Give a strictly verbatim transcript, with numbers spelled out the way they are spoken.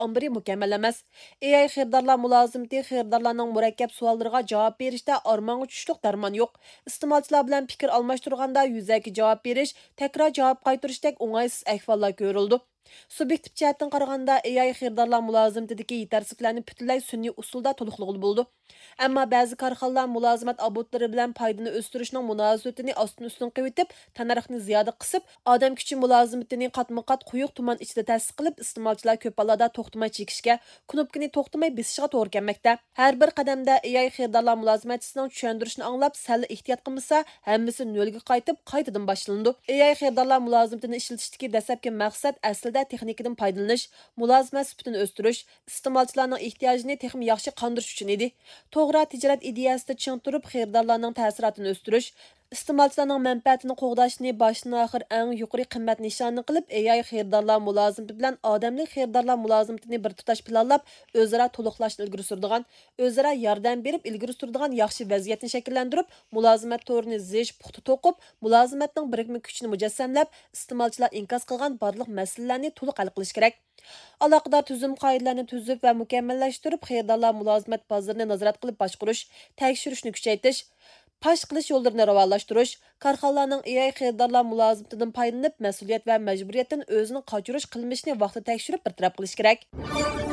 ئامبىرى مۇكەممەل ئەمەس. ئېي ئاي خېرىدارلار مۇلازىمىتى خېرىدارلارنىڭ مۇرەككەپ سوئاللىرىغا جاۋاب بېرىشتە ئارمانغا چۈشلۈك دەرمان يوق. ئىستېمالچىلار بىلەن پىكىر ئالماشتۇرغاندا يۈزەكى جاۋاب بېرىش، تەكرار جاۋاب قايتۇرۇشتەك ئوڭايسىز ئەھۋاللار كۆرۈلىدۇ. سۇبيېكتىپ جەھەتتىن قارىغاندا، ئېي ئاي خېرىدارلار مۇلازىمىتىدىكى يېتەرسىزلىكلەرنى پۈتۈنلەي سۈنئىي ئۇسۇلدا تولۇقلىغىلى بولىدۇ. ئەمما بەزى كارخانىلار مۇلازىمەت ئابونتلىرى بىلەن پايدىنى ئۆستۈرۈشنىڭ مۇناسىۋىتىنى ئاستىن ئۈستۈن قىلىۋېتىپ، تەننەرخنى زىيادە قىسىپ، ئادەم كۈچى مۇلازىمىتىنى قاتمۇ قات قويۇق تۇمان ئىچىدە تەسىس قىلىپ، ئىستېمالچىلار كۆپ ھاللاردا توختىماي چېكىشكە، كنوپكىنى توختىماي بېسىشىغا توغرا كەلمەكتە. ھەر بىر قەدەمدە ئېي ئاي خېرىدارلار مۇلازىمەتچىسىنىڭ چۈشەندۈرۈشىنى ئاڭلاپ، سەل ئېھتىيات قىلمىسا، ھەممىسى نۆلگە قايتىپ، قايتىدىن باشلىنىدۇ. ئېي ئاي خېرىدارلار مۇلازىمىتىنى ئىشلىتىشتىكى دەسلەپكى مەقسەت ئەسلىدە تېخنىكىدىن پايدىلىنىش، مۇلازىمەت سۈپىتىنى ئۆستۈرۈش، ئىستېمالچىلارنىڭ ئېھتىياجىنى تېخىمۇ ياخشى قاندۇرۇش ئۈچۈن ئىدى. توغرا تىجارەت ئىدىيەسىدە چىڭ تۇرۇپ، خېرىدارلارنىڭ تەسىراتىنى ئۆستۈرۈش، ئىستېمالچىلارنىڭ مەنپەئەتىنى قوغداشنى باشتىن ئاخىر ئەڭ يۇقىرى قىممەت نىشانى قىلىپ، ئېي ئاي خېرىدارلار مۇلازىمىتى بىلەن ئادەملىك خېرىدارلار مۇلازىمىتىنى بىر تۇتاش پىلانلاپ، ئۆزئارا تولۇقلاشنى ئىلگىرى سۈرىدىغان، ئۆزئارا ياردەم بېرىپ ئىلگىرى سۈرىدىغان ياخشى ۋەزىيەتنى شەكىللەندۈرۈپ، مۇلازىمەت تورىنى زىچ، پۇختا توقۇپ، مۇلازىمەتنىڭ بىرىكمە كۈچىنى مۇجەسسەملەپ، ئىستېمالچىلار ئىنكاس قىلغان بارلىق مەسىلىلەرنى تولۇق ھەل قىلىش كېرەك. ئالاقىدار تۈزۈم قائىدىلەرنى تۈزۈپ ۋە مۇكەممەللەشتۈرۈپ، خېرىدارلار مۇلازىمەت بازىرىنى نازارەت قىلىپ باشقۇرۇش، تەكشۈرۈشنى كۈچەيتىش، پاش قىلىش يوللىرىنى راۋانلاشتۇرۇش، كارخانىلارنىڭ ئېي ئاي خېرىدارلار مۇلازىمىتىدىن پايدىلىنىپ، مەسئۇلىيەت ۋە مەجبۇرىيەتتىن ئۆزىنى قاچۇرۇش قىلمىشىنى ۋاقتىدا تەكشۈرۈپ بىر تەرەپ قىلىش كېرەك.